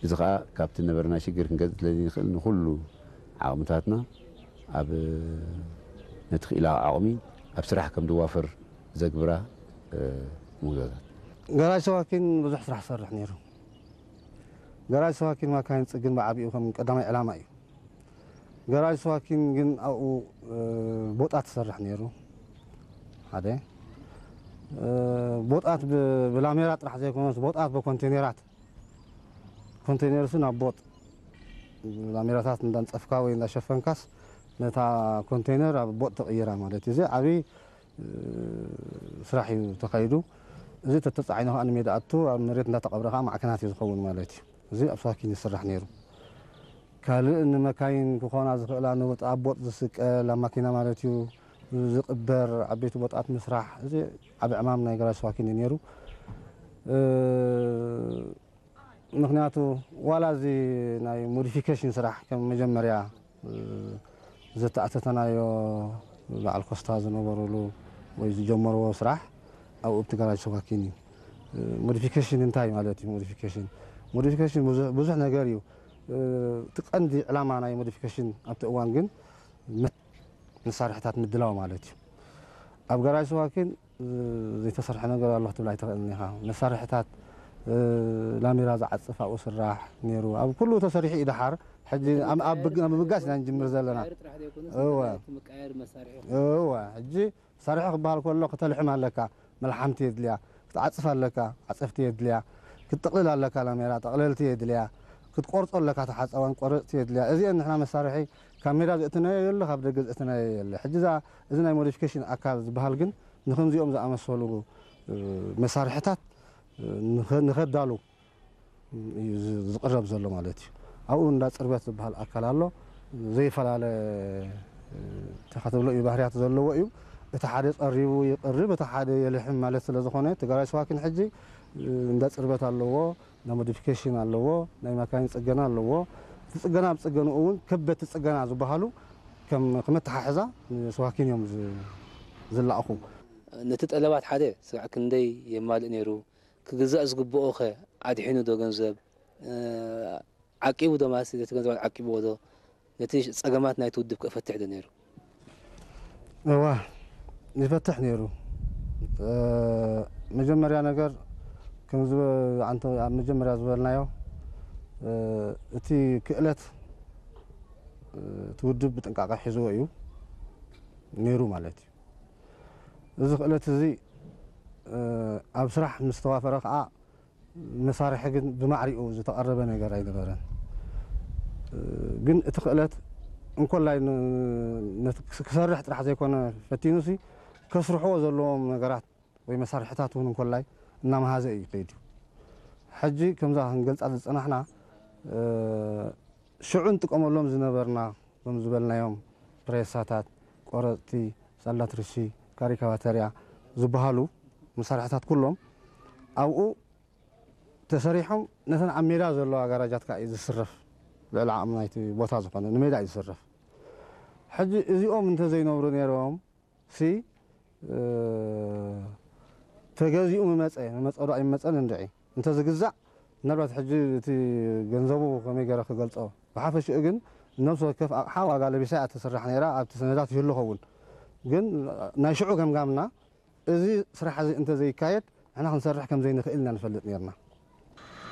እዚ ኸኣ ካብቲ ነበረና ሽግር ክንገዝእ ስለ ዘይንኽእል ንኹሉ ዓቕምታትና ኣብ ነቲ ክኢላዊ ዓቕሚ ኣብ ስራሕ ከም ዝዋፈር ዘግብራ ምጉዛዛት። ገራጅ ሰዋኪን ብዙሕ ስራሕ ዝሰርሕ ነይሩ። ገራጅ ሰዋኪን ማካይን ጽግን ብዓቢኡ ከም ቀዳማይ ዕላማ እዩ። ገራጅ ሰዋኪን ግን ኣብኡ ቦጣት ዝሰርሕ ነይሩ። ሓደ ቦጣት ብላሜራ ጥራሕ ዘይኮነስ ቦጣት ብኮንቴነራት ኮንቴነርስ ናብ ቦጥ ላሜራታት እንዳንጸፍካ ወይ እንዳሸፈንካስ ነታ ኮንቴነር ኣብ ቦጥ ተቕይራ ማለት እዩ። እዚ ዓብዪ ስራሕ እዩ ተኻይዱ። እዚ ተተጻዒኑ ከዓ ንሜዳ ኣቱ ኣብ መሬት እንዳተቐብረ ከዓ ማዕከናት እዩ ዝኸውን ማለት እዩ። እዚ ኣብ ሳኪን ይስራሕ ነይሩ። ካልእ ንመካይን ክኾና ዝኽእላ ንወጥ ኣብ ቦጥ ዝስቀል ኣብ ማኪና ማለት እዩ ዝቕበር ዓበይቲ ቦጣት ምስራሕ እዚ ዓብ ዕማም ናይ ገራጅ ሳኪን እዩ ነይሩ። ምኽንያቱ ዋላ እዚ ናይ ሞዲፊኬሽን ስራሕ ከም መጀመርያ ዝተኣተተናዮ በዓል ኮስታ ዝነበሩሉ ወይ ዝጀመርዎ ስራሕ ኣብኡ ኣብቲ ገራጅ ሰዋኪን እዩ። ሞዲፊኬሽን እንታይ ማለት እዩ? ሞዲፊኬሽን ሞዲፊኬሽን ብዙሕ ነገር እዩ። እቲ ቀንዲ ዕላማ ናይ ሞዲፊኬሽን ኣብቲ እዋን ግን መሳርሕታት ምድላው ማለት እዩ። ኣብ ገራጅ ሰዋኪን ዘይተሰርሐ ነገር ኣሎ ክትብል ኣይትኽእልን ኢኻ። መሳርሕታት ላሜራ ዝዓጽፍ ኣብኡ ስራሕ ነይሩ። ኣብ ኩሉ ተሰሪሑ እዩ ደሓር። ሕጂ ኣብ ምብጋስ ኢና ንጅምር ዘለና። እወ ሕጂ መሳርሒ ክበሃል ከሎ ክተልሕም ኣለካ፣ መልሓምቲ የድልያ፣ ክትዓጽፍ ኣለካ፣ ዓጸፍቲ የድልያ፣ ክትጥቕልል ኣለካ፣ ላሜራ ጠቕለልቲ የድልያ፣ ክትቆርጾ ኣለካ፣ ተሓጸዋን ቆረጽቲ የድልያ። እዚአን ንሕና መሳርሒ ካብ ሜዳ ዘእተናዮ የለ፣ ካብ ደገ ዘእተናዮ የለ። ሕጂ እዛ እዚ ናይ ሞዲፊኬሽን ኣካል ዝበሃል ግን ንከምዚኦም ዝኣመሰሉ መሳርሕታት ንኸዳሉ እዩ ዝቕረብ ዘሎ ማለት እዩ። ኣብኡ እንዳ ጽርበት ዝበሃል ኣካል ኣሎ። ዘይፈላለ ተኸትብሎ እዩ ባህርያት ዘለዎ እዩ። እቲ ሓደ ጸሪቡ ይቕርብ፣ እቲ ሓደ የልሕም ማለት ስለ ዝኾነ እቲ ገራጅ ሰዋኪን ሕጂ እንዳ ጽርበት ኣለዎ፣ ናይ ሞዲፊኬሽን ኣለዎ፣ ናይ ማካይን ጽገና ኣለዎ። እቲ ጽገና ኣብ ጽገንኡ እውን ከበድቲ ጽገና ዝበሃሉ ከም መተሓሕዛ ንሰዋኪን እዮም ዝለኣኹ። ነቲ ጠለባት ሓደ ስራዕ ክንደይ የማልእ ነይሩ? ክግዛእ ዝግብኦ ከ ኣድሒኑ ዶ ገንዘብ? ዓቂቡ ዶ ማለት ነቲ ገንዘባት ዓቂብዎ ዶ? ነቲ ጸገማት ናይቲ ውድብ ከ እፈትሕ ዶ ነይሩ? እዋ ይፈትሕ ነይሩ። መጀመርያ ነገር ከም ኣብ መጀመርያ ዝበልናዮ እቲ ክእለት እቲ ውድብ ብጥንቃቐ ሒዝዎ እዩ ነይሩ ማለት እዩ። እዚ ክእለት እዚ ኣብ ስራሕ ምስ ተዋፈረ ከዓ መሳርሒ ግን ብማዕሪኡ ዝተቐረበ ነገር ኣይነበረን። ግን እቲ ክእለት እንኮላይ ክሰርሕ ጥራሕ ዘይኮነ ፈቲኑሲ ከስርሕዎ ዘለዎም ነገራት ወይ መሳርሕታት እውን እንኮላይ እናመሃዘ እዩ ከይዱ። ሕጂ ከምዛ ክንገልፃ ዝፀናሕና ሽዑ ንጥቀመሎም ዝነበርና ከም ዝበልናዮም ፕሬሳታት፣ ቆረፅቲ፣ ሳላትርሺ፣ ካሪካባተርያ ዝበሃሉ መሳርሕታት ኩሎም ኣብኡ ተሰሪሖም ነተን ኣብ ሜዳ ዘለዋ ጋራጃት ከዓ እዩ ዝስረፍ። ልዕሊ ዓቕሚ ናይቲ ቦታ ዝኾነ ንሜዳ እዩ ዝስረፍ። ሕጂ እዚኦም እንተዘይነብሩ ነይሮም ሲ ተገዚኡ ምመፀ ምመፀ ዶ ኣይመፀን እንድዒ እንተዝግዛእ ምናልባት ሕጂ እቲ ገንዘቡ ከመይ ገይረ ክገልፆ ብሓፈሽኡ ግን ነብሲ ወከፍ ኣቕሓ ዋጋ ለቢሳ እያ ትስራሕ ነይራ ኣብቲ ሰነዳት ይህሉ ኸውን ግን ናይ ሽዑ ገምጋምና እዚ ስራሕ እዚ እንተዘይካየድ ንሕና ክንሰርሕ ከም ዘይንኽእል ኢና ንፈልጥ ነርና።